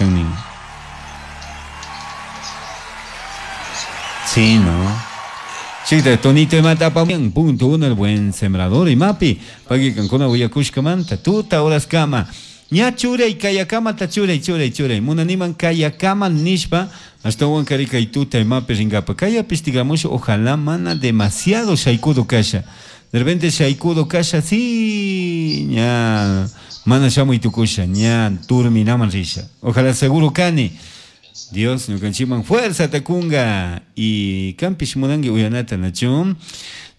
kan nin. Sí, ¿no? Chita, tonito imata apamuyan, punto uno, el buen sembrador imapi, pagui kankuna willakushkamanta, tuta horaskama. Ña churay, kayakamata churay, churay, churay. Munaniman kayakama nishpa, ashtawan kari kay tuta imapi ringapa. Kayapish tigramusha, ojalá mana demasiado shaykudo kasha. De repente shaykudo kasha, sí, ña, mana shamuy tukusha, ña turminaman risha. Ojalá seguro kani. Dios ñukanchikman fuerza kunga y kampish munanki uyanata nachu.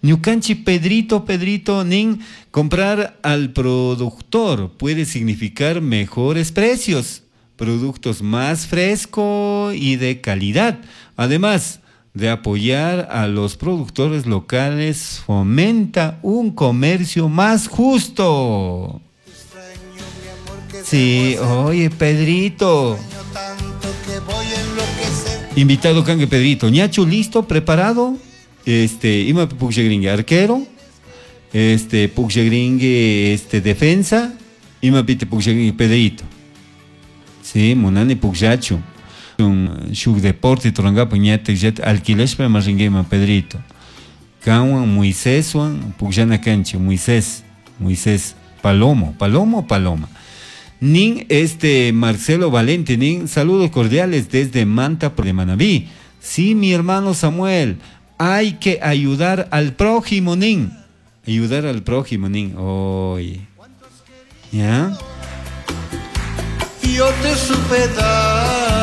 Ñukanchik Pedrito, Pedrito nin, comprar al productor puede significar mejores precios, productos más fresco y de calidad. Además de apoyar a los productores locales, fomenta un comercio más justo. Sí, oye, Pedrito. Invitado kanki Pedrito. Ñachu, listo, preparado. Este, ima pukllagringi arquero. Este, pukllagringi este, defensa. Ima pite pukllagringi Pedrito. Sí, munani pukllachu. Un shuk deporte rurangapa ñatak llata alquilashpa ima ringuiman Pedrito. Kanwan Moiséswan pukllana kanchik, Moisés, Moisés Palomo, Palomo, Paloma. Nin este Marcelo Valente, nin saludos cordiales desde Manta de Manabí. Sí, mi hermano Samuel, hay que ayudar al prójimo, nin. Ayudar al prójimo, nin. Oye. ¿Ya? Yo te supe dar.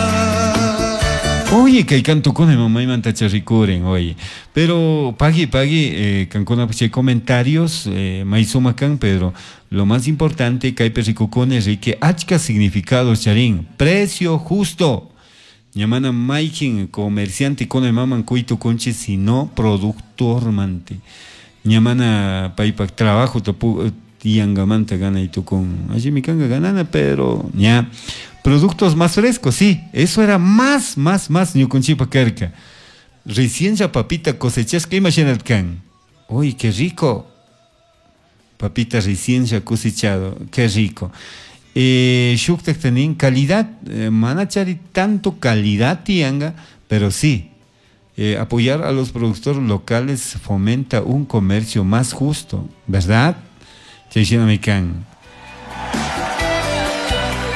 Oye, kay kantukuna maymanta rikurin, oye. Pero pagui, pagui, kankuna chay comentarios, may sumak kan, pero lo más importante kaypi rikukuni riki achka significados charin. Precio justo. Ña mana maykin comerciante kuna imaman quy tukunchik, sino productor mante. Ña mana paypak trabajo yangamanta ganay tukun. Allimi kanka ganana, pero ña productos más frescos, sí, eso era más, más, más ñukunchikpa karka. Recién ya papita cosechashka, imagínate kan. Uy, qué rico. Papita recién ya cosechado, qué rico. Shuktak tanin calidad, mana chari tanto calidad tianga, pero sí, apoyar a los productores locales fomenta un comercio más justo, ¿verdad? Chay shinami kan.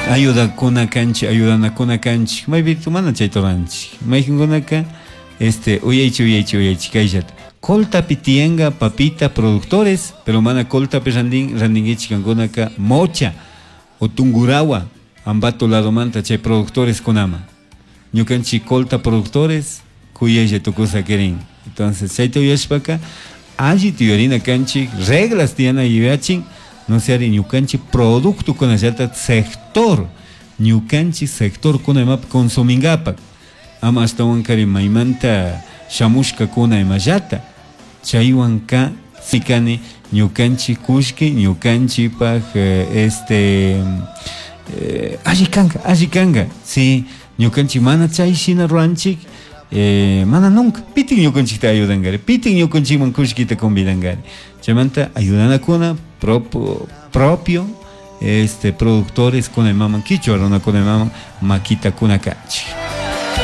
Ayudakuna kanchik, ayudanakuna kanchik. Maypi mana chayta ruranchik. Mayqinkunaka, este, uyaychi, uyaychi, uyaychi, kayllata. Coltapi tiyanka papita productores, pero mana coltapi randin, randinkichik kankunaka Mocha o Tungurahua, Ambato ladomanta chay productores kunama. Ñukanchik colta productores, kuyaylla tukusa kirin. Entonces, chayta uyashpaka, alli tiyarina kanchik, reglas tiyana yuyachin, no sea ñukanchik producto kunallata sector, ñukanchik sector kuna imapi consumingapak. Ama ashtawan kari maymanta shamushka kuna imallata. Chaywanka sikani ñukanchik kullki, ñukanchikpak, este, alli kanka, alli kanka. Sí, ñukanchik mana chay shina ruranchik, mana nunca. Pitin ñukanchikta ayudankari, pitin ñukanchikman kullkita convidankari. Chaymanta ayudanakuna propio, este, productores kuna imaman, kichwa runakuna imaman makita kuna kanchik.